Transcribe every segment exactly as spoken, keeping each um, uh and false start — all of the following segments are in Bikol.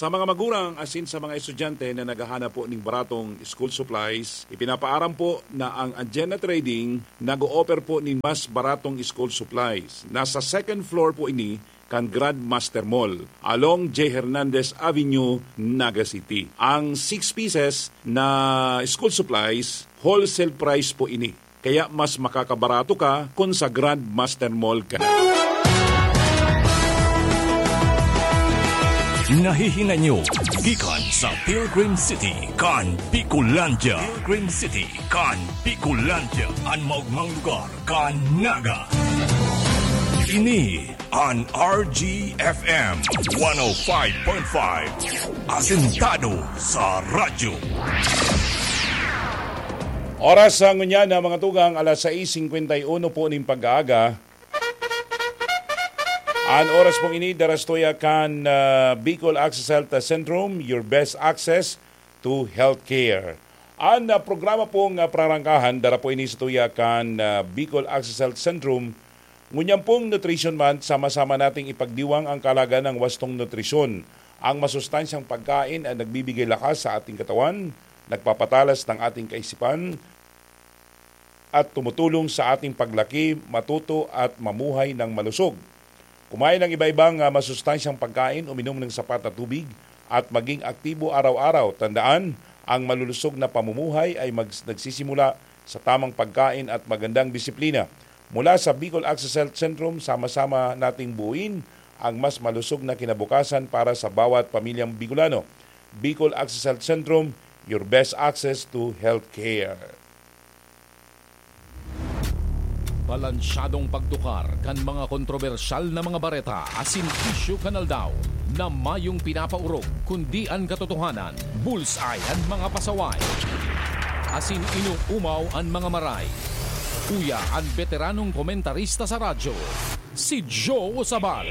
Sa mga magurang asin sa mga estudyante na naghahanap po ning baratong school supplies, ipinapaaram po na ang Anjena Trading nag-o-offer po nin mas baratong school supplies. Nasa second floor po ini kan Grandmaster Mall, along J Hernandez Avenue, Naga City. Ang six pieces na school supplies, wholesale price po ini. Kaya mas makakabarato ka kun sa Grandmaster Mall ka na. Nahihinay nyo gikan sa Pilgrim City kan Bicolandia. Pilgrim City kan Bicolandia, an maogmang lugar kan Naga. Ini an R G F M one oh five point five. Asentado sa radyo. Oras sa ngunyan na mga tugang, alas sais singkwenta y uno po ning pag-aaga. An oras pong ini, dara sa tuya kan, ah, Bicol Access Health Centrum, your best access to healthcare. An, ah, programa pong, ah, prarangkahan, dara po ini sa tuya kan, ah, Bicol Access Health Centrum. Ngunyan pong Nutrition Month, sama-sama nating ipagdiwang ang kahalagahan ng wastong nutrisyon. Ang masustansyang pagkain ay nagbibigay lakas sa ating katawan, nagpapatalas ng ating kaisipan, at tumutulong sa ating paglaki, matuto at mamuhay ng malusog. Kumain ng iba-ibang, ah, masustansyang pagkain, uminom ng sapat na tubig, at maging aktibo araw-araw. Tandaan, ang malulusog na pamumuhay ay mag-, nagsisimula sa tamang pagkain at magandang disiplina. Mula sa Bicol Access Health Centrum, sama-sama nating buuin ang mas malusog na kinabukasan para sa bawat pamilyang Bicolano. Bicol Access Health Centrum, your best access to healthcare. Balansyadong pagtukar kan mga kontrobersyal na mga bareta asin isyu kan aldaw na mayong pinapaorog, kundi an katotohanan, bullseye an mga pasaway, asin inuumaw an mga maray. Uya an beteranong komentarista sa radyo, si Joe Sabal,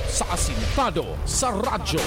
sa Asintado sa Radyo.